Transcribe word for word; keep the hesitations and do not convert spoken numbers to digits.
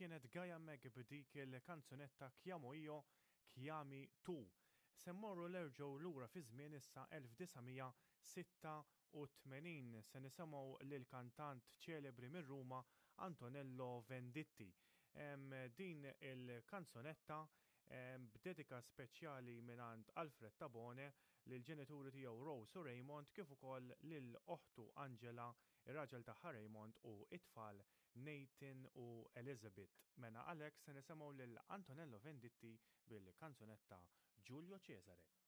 Kienet Gaia Meg b'dik il-kanzunetta Chiamo io, chiami tu. Se mmorru nerġgħu lura fi żmien issa elf disa' mija sitta u tmenin, se nisimgħu lil kantant ċelebri minn Ruma Antonello Venditti. Em, din il-kanzunetta, em, b'dedika speċjali mingħand Alfred Tabone lil ġenituri tiegħu Rose u Raymond, kif ukoll lil oħtu Angela, ir-raġel tagħha Raymond u it-tfal Nathan u Elizabeth. Mena għalhekk se nisimgħu lil Antonello Venditti bil-kanzunetta Giulio Cesare.